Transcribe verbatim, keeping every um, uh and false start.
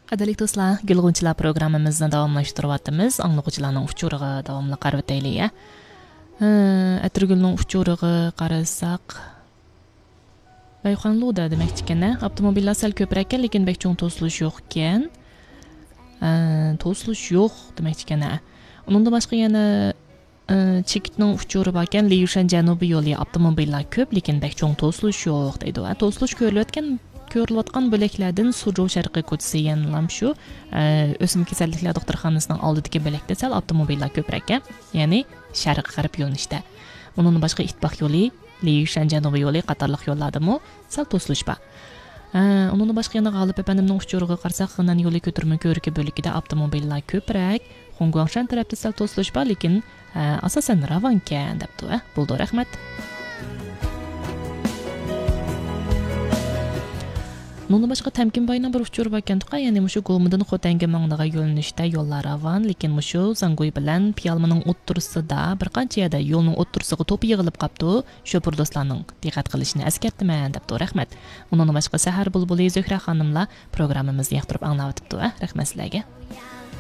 قەدىرلىك دوستلار، گۈل غۇنچىلار پروگراممىمىزنى داۋاملاشتۇرۇۋاتىمىز. ئاڭلىغۇچىلارنىڭ ئۇچۇرىغا داۋاملىق قارىۋېتەيلى، يە. ھە، ئەتىرگۈلنىڭ ئۇچۇرىغا قارىساق، رايخانلۇدا دېمەكچىكەن، ھە؟ ئاپتوموبىللار سەل كۆپرەككەن، لېكىن بەك چوڭ توسۇلۇش يوقكەن. ھە، توسۇلۇش يوق دېمەكچىكەن، ھە. ئۇنىڭدىن باشقا يەنە، ئە، چېكىتنىڭ ئۇچۇرى باركەن، ليۇشەن جەنۇبىي يولى، ئاپتوموبىللار كۆپ، لېكىن بەك چوڭ توسۇلۇش يوق دەيدۇ. ھە، توسۇلۇش كۆرۈلۈۋاتكەن، كۆرۈلۈۋاتقان بۆلەكلەردىن سۇجۇ شەرقىي كوچىسى يەنىلا شۇ، ئە، ئۆسمە كېسەللىكلەر دوختۇرخانىسىنىڭ ئالدىدىكى بۆلەكتە سەل ئاپتوموبىللار كۆپرەك، يەنى شەرقىي غەرب يۆنىلىشتە. ئۇنىڭدىن باشقا ئىتتىپاق يولى، ليۇشەن جەنۇبىي يولى قاتارلىق يوللاردىمۇ سەل توسۇلۇش بار. ھە، ئۇنىڭدىن باشقا يەنە غالىپ ئەپەندىمنىڭ ئۇچۇرىغا قارىساق، خېنەن يولى كۆتۈرمە كۆۋرۈكى بۆلىكىدە ئاپتوموبىللار كۆپرەك. خۇڭگۇاڭشەن تەرەپتە سەل توسۇلۇش بار، لېكىن، ھە، ئاساسەن راۋانكەن، دەپتۇ. ھە، بولىدۇ، رەھمەت. ئۇنىڭدىن باشقا تەمكىنباينىڭ بىر ئۇچۇرى باركەن، تۇقا، يەنى مۇشۇ گومىدىن خوتەنگە ماڭىدىغان يۆنىلىشتە يوللار راۋان، لېكىن مۇشۇ زاڭگۇي بىلەن پىيالمىنىڭ ئوتتۇرىسىدا بىر قانچە يەردە يولنىڭ ئوتتۇرىسىغا توپا يىغىلىپ قاپتۇ. شوپۇر دوستلارنىڭ دىققەت قىلىشىنى ئەسكەرتىمەن، دەپتۇ. رەھمەت. ئۇنىڭدىن باشقا سەھەر بۇلبۇلى، زۆھرە خانىملار پروگراممىمىزنى ياقتۇرۇپ ئاڭلاۋېتىپتۇ. ھە، رەھمەت سىلەرگە.